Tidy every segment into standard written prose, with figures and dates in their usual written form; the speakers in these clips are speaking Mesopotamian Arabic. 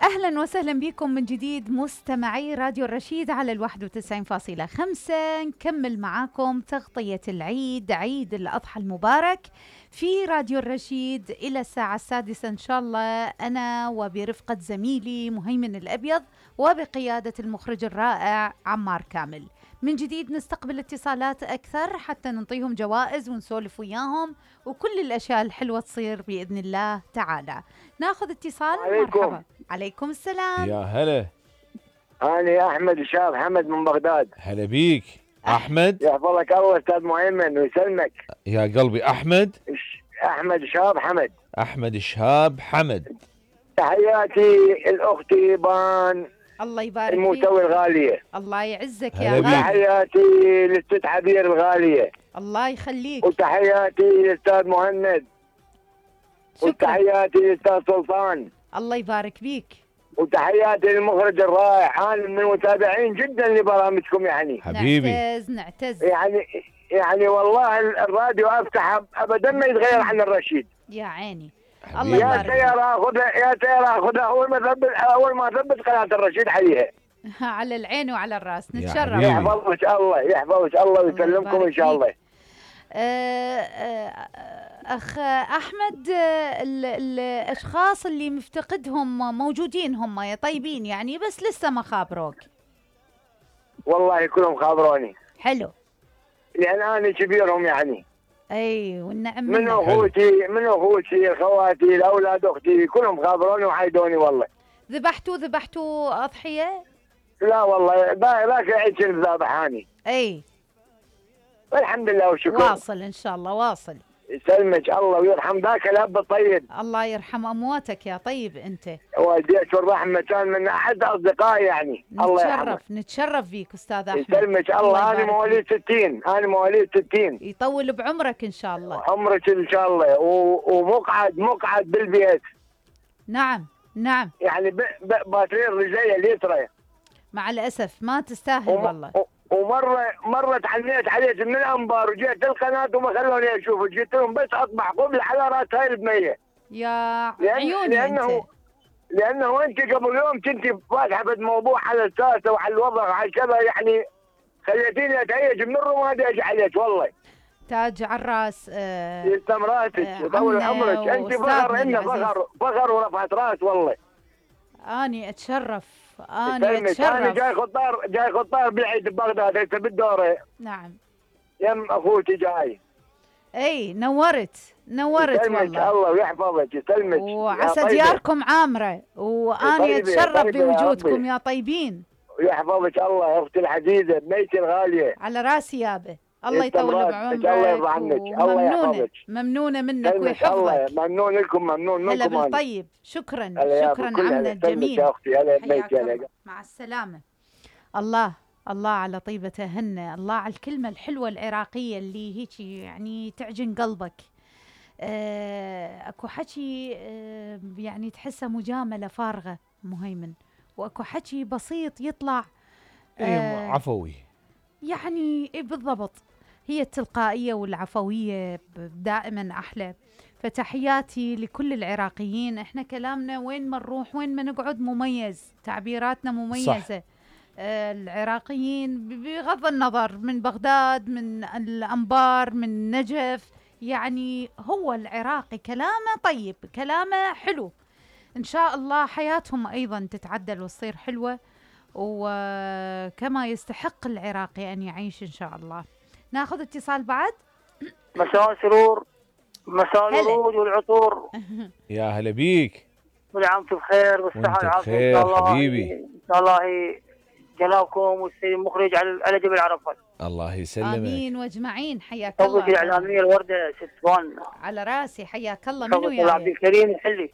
أهلا وسهلا بكم من جديد مستمعي راديو الرشيد على 91.5. نكمل معاكم تغطية العيد، عيد الأضحى المبارك في راديو الرشيد إلى الساعة 6 إن شاء الله، أنا وبرفقة زميلي مهيمن الأبيض وبقيادة المخرج الرائع عمار كامل. من جديد نستقبل اتصالات أكثر حتى نعطيهم جوائز ونسولف وياهم وكل الأشياء الحلوة تصير بإذن الله تعالى. ناخذ اتصال. مرحبا. عليكم السلام. يا هلا. أنا أحمد الشاب حمد من بغداد. هلا بيك أحمد. يحفظك الله أستاذ مهيمن ويسلمك. يا قلبي أحمد. أحمد شاب حمد. أحمد شاب حمد. تحياتي الأختي بان الله يبارك الموتوي الغالية. الله يعزك يا غالي. تحياتي للست عبير الغالية. الله يخليك. وتحياتي للأستاذ مهند. وتحياتي للأستاذ سلطان. الله يبارك بيك. وتحياتي للمخرج الرائع، أنا من المتابعين جدا لبرامجكم يعني. حبيبي. نعتز يعني والله الراديو أفتح أبدا ما يتغير عن الرشيد. يا عيني. الله يبارك. يا سيارة أخذها أول ما ثبت قناة الرشيد عليها. على العين وعلى الراس، نتشرف. يحفظك الله ويسلمكم إن شاء الله. أخ أحمد، الأشخاص اللي مفتقدهم موجودين هم يا طيبين يعني، بس لسه ما خابروك؟ والله كلهم خابروني. حلو. لأن أنا كبيرهم يعني. أي والنعم. من أخوتي خواتي الأولاد أختي كلهم خابروني وعايدوني والله. ذبحتوا أضحية؟ لا والله ذاك عيد كنت ذابحاني. أي الحمد لله والشكر. واصل إن شاء الله واصل. يسلمك الله ويرحم ذاك الأب الطيب. الله يرحم أمواتك يا طيب أنت. والديك والرحمة كان من أحد أصدقائي يعني. الله يرحمه. نتشرف فيك أستاذ أحمد. يسلمك الله. أنا مواليد 60. يطول بعمرك إن شاء الله. عمرك إن شاء الله. ومقعد بالبيت. نعم. يعني باترين رجلية اليسرى. مع الأسف ما تستاهل والله. ومرة تعلمت عليك من الأنبار وجيت القناة وما خلوني أشوف، جيت لهم بس أطبع قبل على رأس هاي البنية. يا عيوني أنت. لأنه أنت قبل يوم كنت فاتحة بموضوع على الساسة وعلى الوضع وعلى كذا، يعني خليتيني أتهيج من الرماد أجي عليك والله. تاج على الراس. يسلم راسك وطول عمرك. أنت فخر ورفعت راس والله. أنا أتشرف. أنا جاي خطار بالعيد ببغداد هسه بالدورة. نعم. يم أخوتي جاي. أي نورت والله. الله ويحفظك. يسلمك. وعسى دياركم عامرة، وأنا أتشرف بوجودكم يا طيبين. ويحفظك الله يا أختي العزيزة بنيتي الغالية. على راسي يابا. الله يطول بعمرك. الله يرضى عنك. الله يحفظك. ممنونة منك ويحفظك. الله ممنون لكم. هلا بالطيب. شكرا عمنا الجميل. يا أختي هلا. مع السلامة. الله على طيبة هن، الله على الكلمة الحلوة العراقية اللي هيك يعني تعجن قلبك. اكو حكي يعني تحسه مجاملة فارغة مهيمن، واكو حكي بسيط يطلع عفوي يعني. بالضبط، هي التلقائية والعفوية دائما أحلى. فتحياتي لكل العراقيين. احنا كلامنا وين ما نروح وين ما نقعد مميز، تعبيراتنا مميزة. صح. العراقيين بغض النظر من بغداد من الأنبار من نجف، يعني هو العراقي كلامه طيب، كلامه حلو. إن شاء الله حياتهم أيضا تتعدل وتصير حلوة، وكما يستحق العراقي أن يعيش إن شاء الله. ناخذ اتصال بعد. مساء سرور، مساء الورود والعطور. يا هلا بيك. كل عام وانتم بخير والصحة والعافية إن شاء الله. حبيبي إن شاء الله جنابكم والسيد المخرج على جبل عرفات. الله يسلمك. آمين واجمعين. حياك الله. توك الإعلامية الوردة ست فان. على راسي. حياك الله. منو يا عبد الكريم الحلي.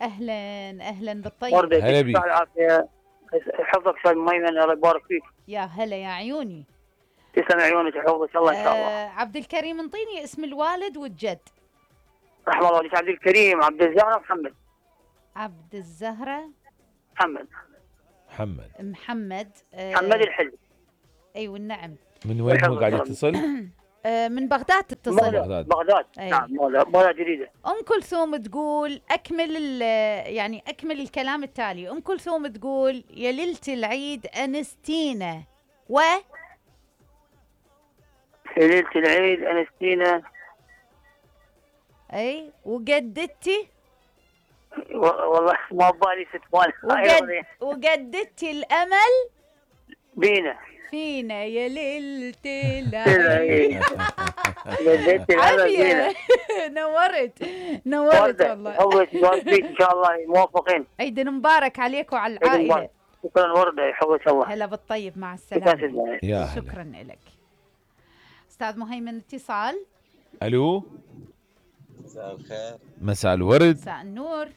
أهلا بالطيب. هلا بيك. العافية. حفظك استاذ مهيمن الله يبارك فيك. يا هلا يا عيوني. تسلم عيونك يحفظك الله ان شاء الله. عبد الكريم انطيني اسم الوالد والجد. رحم الله والديك. عبد الكريم عبد الزهرة محمد. عبد الزهرة محمد محمد الحلي. ايوه النعم. من وين هو قاعد يتصل؟ من بغداد تتصل. بغداد. أي. نعم بغداد جديدة. ام كلثوم تقول يعني اكمل الكلام التالي. ام كلثوم تقول يا ليلة العيد انستينا ليلة العيد أنستينا. اي وجددتي والله ما ببالي ستمان. وجددتي الامل بينا فينا يا ليلة العيد. جددت الأمل بينا. عافية. نورت والله. حوت بيك إن شاء الله موفقين. عيد مبارك عليك وعلى العائلة. شكرا وردة حوت الله. هلا بالطيب مع السلامة. يا هلا. شكرا لك أستاذ مهيمن. اتصال. الو. مساء الخير. مساء الورد. مساء النور.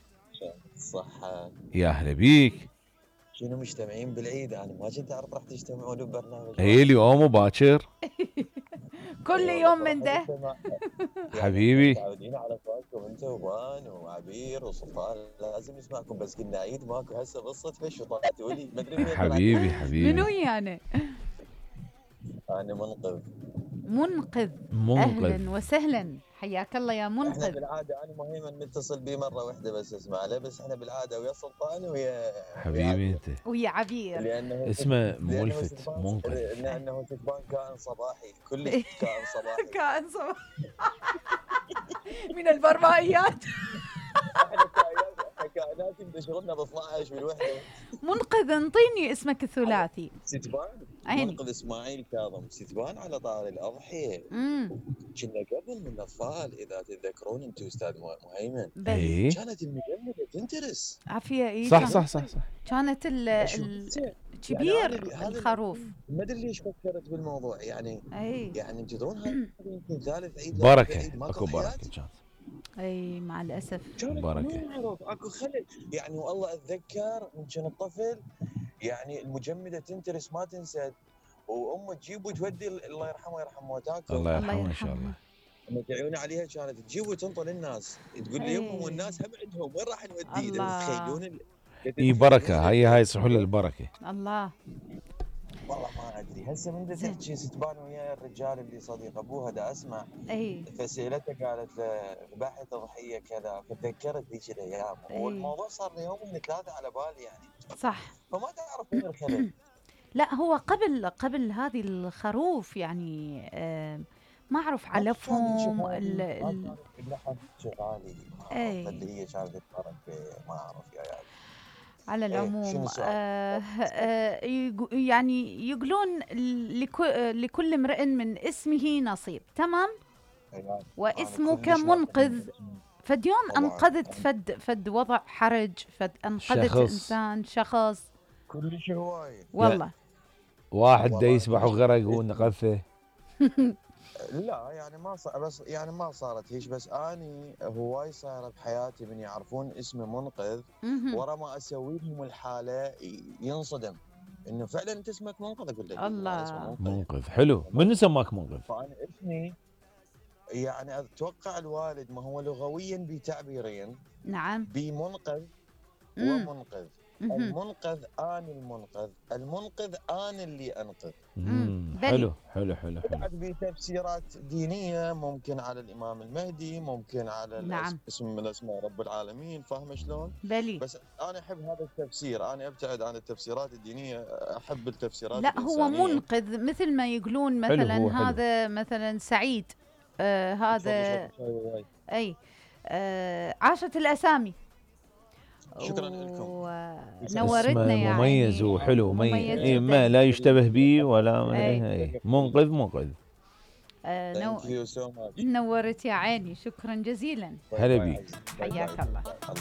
الصحة. يا هلا بيك. شنو مجتمعين بالعيد؟ انا ما كنت اعرف راح تجتمعون ببرنامج. هي اليوم وباكر. كل يوم من ده. حبيبي. متعودين على فاكم انت وبان وعبير وسلطان، لازم نسمعكم، بس قلنا عيد ماكو هسه بالصدفه شو طلعتوا لي ما ادري منين. حبيبي. منو يعني؟ انا منقذ. منقذ. اهلا وسهلا، حياك الله يا احنا منقذ. بالعاده انا مهيمن متصل بي مره واحده بس اسمع له، بس احنا بالعاده ويا سلطان ويا حبيبي انت. ويا عبير. لانه اسمه ملفت منقذ. لانه ستبان كائن صباحي، كلش كائن صباحي. كائن صباحي. من البرمائيات. احنا كائنات يدشغلنا ب 12 بالوحده. منقذ انطيني اسمك الثلاثي. ستبان. عيني. منقذ اسماعيل كاظم. ستبان على طار الاضحيه. كنا قبل من الاطفال اذا تتذكرون انتم استاذ مهيمن. اي كانت المجمده تنترس. عافيه. اي صح. كانت كبير الخروف. ما ادري ليش فكرت بالموضوع يعني. اي يعني تدرون هذا يمكن ثالث عيد. بركه. اكو بركه كانت. اي مع الاسف. بركه. اكو خلل يعني. والله اتذكر من كنت طفل يعني المجمده تنترس ما تنسد، وامه تجيب وتودي الله يرحمه ويرحم موتاكم. الله يرحمه ان شاء الله. عيوني عليها كانت تجيب وتنطل الناس، تقول لي يمهم والناس هم عندهم وين راح نوديه؟ تخيلون اي بركه. هاي يصحوا له البركه. الله. والله ما ادري هسه من تحكي ستبان ويا الرجال اللي صديق ابوها دا اسمع. اي فسالته قالت له ذبحت تضحيه كذا، فتذكرت ذيك الايام. والموضوع صار لي يومين ثلاثه على بالي يعني. صح. فما تعرف وين الخلل. لا هو قبل هذه الخروف يعني ما اعرف علفهم اللحم شغالي. اي اللي هي كانت تتحرك ما اعرف يا يعني. على العموم يعني يقولون لكل امرئ من اسمه نصيب. تمام. واسمك منقذ. فد يوم انقذت فد وضع حرج، فد انقذت انسان شخص كل شيء هواي والله. واحد دا يسبح وغرق ونقذته. لا يعني ما صار، بس يعني ما صارت هيش، بس اني هواي صايره بحياتي من يعرفون اسمي منقذ ورا ما اسوي لهم الحاله ينصدم انه فعلا انت اسمك منقذ. اقول له الله منقذ حلو. من سماك منقذ؟ فانا اسمي يعني اتوقع الوالد ما هو لغويا بتعبيرين. نعم. بمنقذ ومنقذ. المنقذ اني المنقذ انا اللي انقذ. حلو. بعد بتفسيرات دينيه، ممكن على الامام المهدي، ممكن على نعم. اسم من اسماء رب العالمين. فاهمه شلون؟ بلي. بس انا احب هذا التفسير، انا ابتعد عن التفسيرات الدينيه، احب التفسيرات لا الإنسانية. هو منقذ مثل ما يقولون مثلا حلو. هذا مثلا سعيد هذا اي عاشت الاسامي. شكرا لكم. نورتنا يعني. مميز وحلو. مميز. ما لا يشتبه به ولا. منقذ. نورت يا عيني. شكرا جزيلا. هلا بيك. حياك الله.